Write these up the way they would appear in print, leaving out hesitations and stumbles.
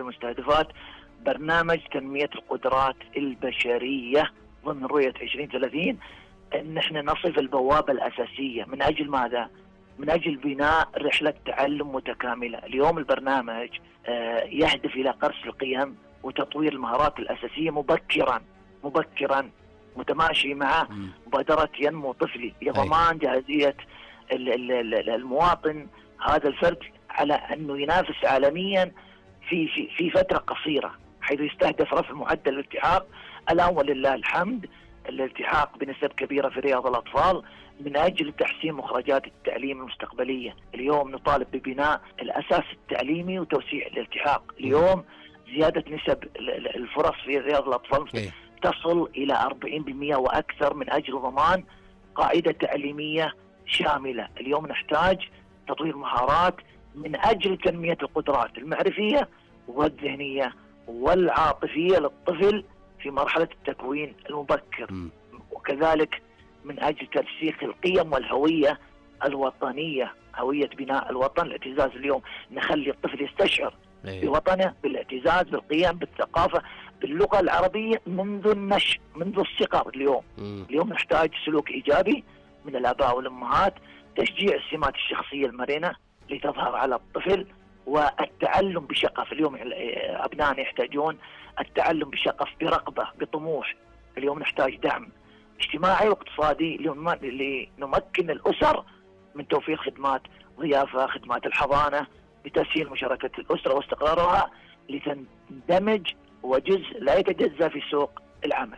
المستهدفات برنامج تنمية القدرات البشرية ضمن رؤية 2030، أن احنا نصف البوابة الأساسية. من أجل ماذا؟ من أجل بناء رحلة تعلم متكاملة. اليوم البرنامج يهدف إلى قرص القيم وتطوير المهارات الأساسية مبكرا متماشي مع مبادرة ينمو طفلي لضمان جاهزية المواطن هذا الفرد على أنه ينافس عالميا في فترة قصيرة، حيث يستهدف رفع معدل الالتحاق. الآن ولله الحمد الالتحاق بنسب كبيرة في رياض الأطفال من أجل تحسين مخرجات التعليم المستقبلية. اليوم نطالب ببناء الأساس التعليمي وتوسيع الالتحاق. اليوم زيادة نسب الفرص في رياض الأطفال تصل إلى 40% وأكثر من أجل ضمان قاعدة تعليمية شاملة. اليوم نحتاج تطوير مهارات من أجل تنمية القدرات المعرفية والذهنية والعاطفية للطفل في مرحلة التكوين المبكر، وكذلك من أجل ترسيخ القيم والهوية الوطنية، هوية بناء الوطن، الاعتزاز. اليوم نخلي الطفل يستشعر بوطنه، بالاعتزاز، بالقيم، بالثقافة، باللغة العربية منذ النشء، منذ الصغر. اليوم نحتاج سلوك إيجابي من الآباء والأمهات، تشجيع السمات الشخصية المرنة لتظهر على الطفل، والتعلم بشغف. اليوم أبنائنا يحتاجون التعلم بشغف، برغبة، بطموح. اليوم نحتاج دعم اجتماعي واقتصادي لنمكن الأسر من توفير خدمات ضيافة، خدمات الحضانة، بتسهيل مشاركة الأسرة واستقرارها لتندمج وجزء لا يتجزأ في سوق العمل.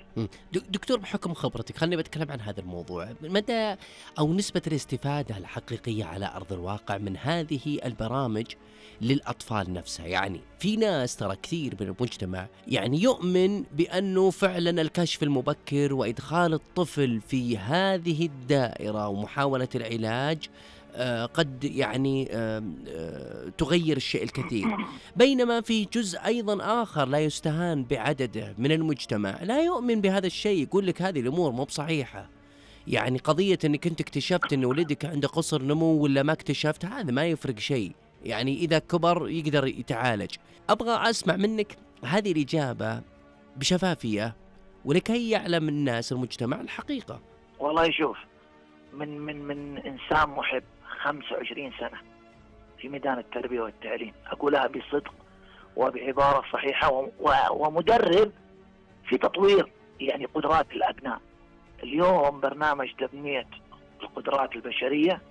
دكتور، بحكم خبرتك خلني بتكلم عن هذا الموضوع. مدى أو نسبة الاستفادة الحقيقية على أرض الواقع من هذه البرامج للأطفال نفسها؟ يعني في ناس ترى كثير من المجتمع يعني يؤمن بأنه فعلا الكشف المبكر وإدخال الطفل في هذه الدائرة ومحاولة العلاج قد يعني تغير الشيء الكثير، بينما في جزء أيضا آخر لا يستهان بعدده من المجتمع لا يؤمن بهذا الشيء، يقول لك هذه الأمور مو بصحيحة. يعني قضية أنك أنت اكتشفت أن ولدك عنده قصر نمو ولا ما اكتشفت، هذا ما يفرق شيء، يعني إذا كبر يقدر يتعالج. أبغى أسمع منك هذه الإجابة بشفافية ولكي يعلم الناس المجتمع الحقيقة. والله شوف، من إنسان محب 25 سنة في ميدان التربية والتعليم، أقولها بصدق وبعبارة صحيحة، ومدرب في تطوير يعني قدرات الأبناء. اليوم برنامج تنمية القدرات البشرية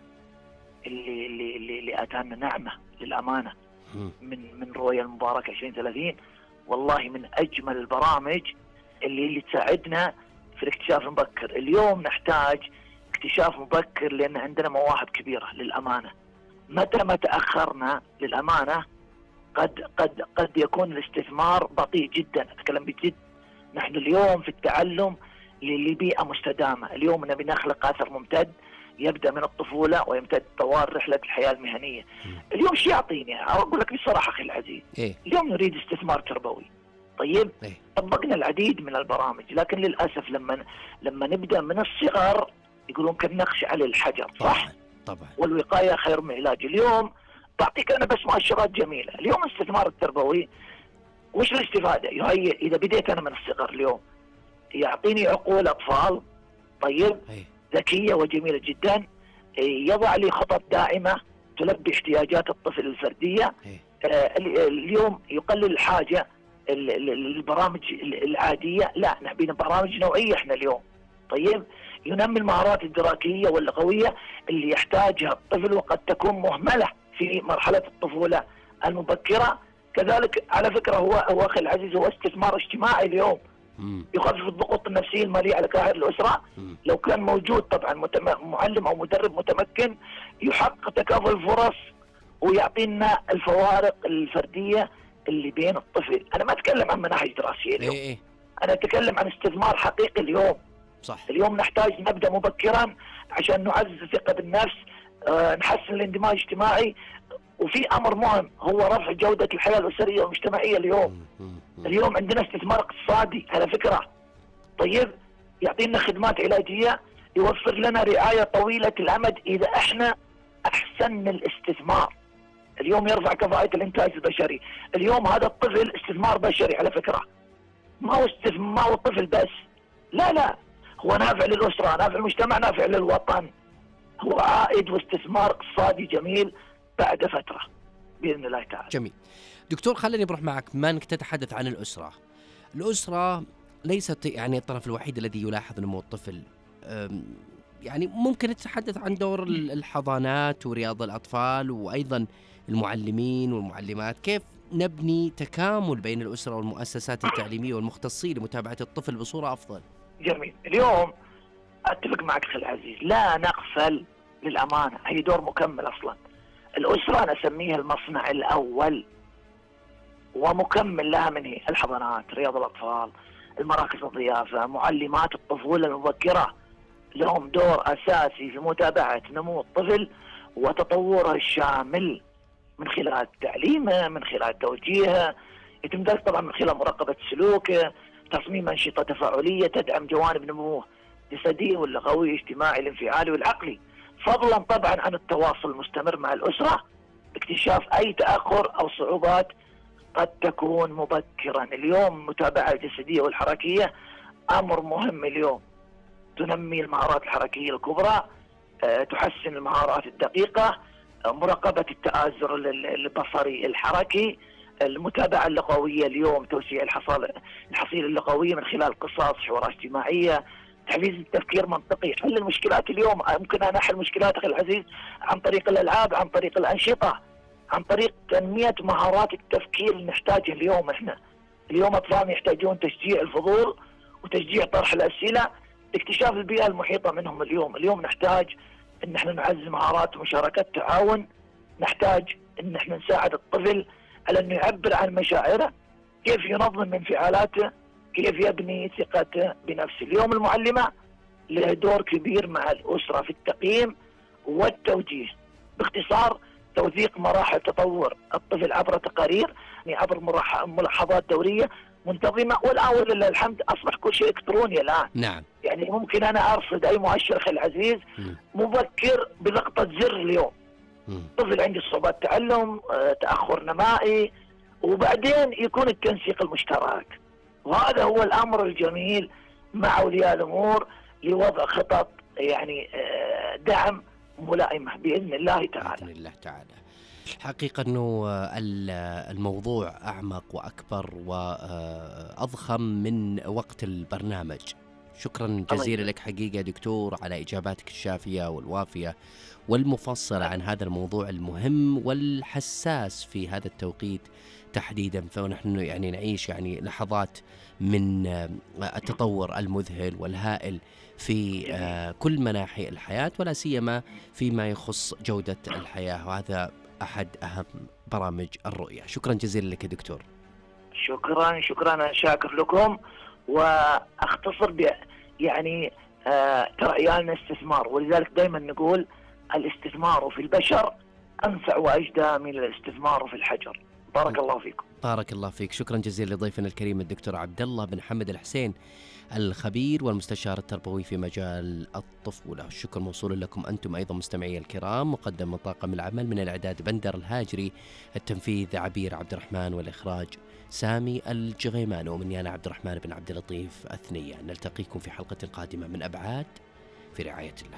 اللي أتانا نعمة للأمانة من رؤية المباركة 2030، والله من أجمل البرامج اللي تساعدنا في الاكتشاف المبكر. اليوم نحتاج اكتشاف مبكر لأن عندنا مواهب كبيرة للأمانة. متى ما تأخرنا للأمانة قد يكون الاستثمار بطيء جدا. أتكلم بجد. نحن اليوم في التعلم لبيئة مستدامة. اليوم نبي نخلق أثر ممتد يبدأ من الطفولة ويمتد طوال رحلة الحياة المهنية. اليوم شو يعطيني؟ أقول لك بصراحة أخي العزيز، اليوم نريد استثمار تربوي. طيب طبقنا العديد من البرامج، لكن للأسف لما نبدأ من الصغر يقولون كالنقش على الحجر، صح؟ طبعا. والوقاية خير من العلاج. اليوم بعطيك أنا بس مؤشرات جميلة. اليوم الاستثمار التربوي وش الاستفادة؟ إذا بديت أنا من الصغر اليوم يعطيني عقول أطفال طيب ذكية وجميلة جدا، يضع لي خطط داعمة تلبي احتياجات الطفل الفردية. اليوم يقلل الحاجة البرامج العادية، لا نبي برامج نوعية احنا اليوم. طيب ينمي المهارات الدراسية واللغوية اللي يحتاجها الطفل وقد تكون مهملة في مرحلة الطفولة المبكرة. كذلك على فكرة هو أخي العزيز هو استثمار اجتماعي اليوم، يخفف الضغوط النفسية المالية على كاهل الأسرة. لو كان موجود طبعا معلم أو مدرب متمكن يحقق تكافؤ الفرص ويعطينا الفوارق الفردية اللي بين الطفل. أنا ما أتكلم عن مناهج دراسية اليوم، أنا أتكلم عن استثمار حقيقي اليوم. صح. اليوم نحتاج نبدأ مبكرا عشان نعزز الثقة بالنفس، نحسن الاندماج الاجتماعي، وفي أمر مهم هو رفع جودة الحياة الأسرية والمجتمعية اليوم. اليوم عندنا استثمار اقتصادي على فكرة. طيب يعطينا خدمات علاجية، يوفر لنا رعاية طويلة الأمد إذا احنا أحسن الاستثمار. اليوم يرفع كفاءة الإنتاج البشري. اليوم هذا الطفل استثمار بشري على فكرة، ما هو الطفل بس، لا، هو نافع للأسرة، نافع للمجتمع، نافع للوطن، هو عائد واستثمار اقتصادي جميل بعد فترة بإذن الله تعالى. جميل دكتور، خليني بروح معك بما أنك تتحدث عن الأسرة ليست يعني الطرف الوحيد الذي يلاحظ نمو الطفل. يعني ممكن نتحدث عن دور الحضانات ورياض الأطفال وأيضا المعلمين والمعلمات، كيف نبني تكامل بين الأسرة والمؤسسات التعليمية والمختصين لمتابعة الطفل بصورة أفضل؟ جميل. اليوم أتفق معك أخي العزيز، لا نغفل للأمانة، هي دور مكمل أصلا. الأسرة أنا أسميها المصنع الأول ومكمل لها من هي الحضانات، رياض الأطفال، المراكز الضيافة، معلمات الطفولة المبكرة، لهم دور أساسي في متابعة نمو الطفل وتطوره الشامل من خلال تعليمه، من خلال توجيهه، يتم ذلك طبعا من خلال مراقبة سلوكه، تصميم أنشطة تفاعلية تدعم جوانب نموه الجسدي واللغوي والاجتماعي الانفعالي والعقلي، فضلا طبعا عن التواصل المستمر مع الأسرة باكتشاف أي تأخر أو صعوبات قد تكون مبكرا. اليوم المتابعة الجسدية والحركية أمر مهم اليوم، تنمي المهارات الحركية الكبرى، تحسن المهارات الدقيقة، مراقبة التآزر البصري الحركي، المتابعة اللغوية اليوم، توسيع الحصيلة اللغوية من خلال قصص، حوارات اجتماعية، تحفيز التفكير المنطقي، حل المشكلات. اليوم ممكن أنا أحل مشكلات أخي العزيز عن طريق الألعاب، عن طريق الأنشطة، عن طريق تنمية مهارات التفكير اللي نحتاجها اليوم. احنا اليوم أطفالنا يحتاجون تشجيع الفضول وتشجيع طرح الأسئلة، اكتشاف البيئة المحيطة منهم. اليوم نحتاج ان احنا نعزز مهارات مشاركة التعاون، نحتاج ان احنا نساعد الطفل على انه يعبر عن مشاعره، كيف ينظم انفعالاته، كيف يبني ثقته بنفسه. اليوم المعلمة له دور كبير مع الأسرة في التقييم والتوجيه، باختصار توثيق مراحل تطور الطفل عبر تقارير، يعني عبر ملاحظات دورية منتظمة. والآن ولله الحمد أصبح كل شيء إلكتروني الآن. نعم. يعني ممكن أنا أرصد أي مؤشر أخي العزيز مبكر بضغطة زر اليوم. طفل عنده صعوبات تعلم، تأخر نمائي، وبعدين يكون التنسيق المشترك. وهذا هو الأمر الجميل مع أولياء الأمور لوضع خطط يعني دعم ملائمة بإذن الله تعالى. بإذن الله تعالى. حقيقة أنه الموضوع أعمق وأكبر وأضخم من وقت البرنامج. شكرا جزيلا لك حقيقة دكتور على إجاباتك الشافية والوافية والمفصلة عن هذا الموضوع المهم والحساس في هذا التوقيت تحديدا، فنحن يعني نعيش يعني لحظات من التطور المذهل والهائل في كل مناحي الحياة، ولا سيما فيما يخص جودة الحياة، وهذا أحد أهم برامج الرؤية. شكرا جزيلا لك يا دكتور. شكرا، أنا شاكر لكم. وأختصر يعني ترى عيالنا استثمار، ولذلك دائما نقول الاستثمار في البشر أنفع وأجدى من الاستثمار في الحجر. بارك الله فيكم. بارك الله فيك. شكرا جزيلا لضيفنا الكريم الدكتور عبد الله بن حمد الحسين، الخبير والمستشار التربوي في مجال الطفولة. الشكر موصول لكم أنتم أيضا مستمعي الكرام. مقدم من طاقم العمل، من الإعداد بندر الهاجري، التنفيذ عبير عبد الرحمن، والإخراج سامي الجغيمان، ومني أنا عبد الرحمن بن عبد اللطيف أثنية. نلتقيكم في حلقة قادمة من أبعاد، في رعاية الله.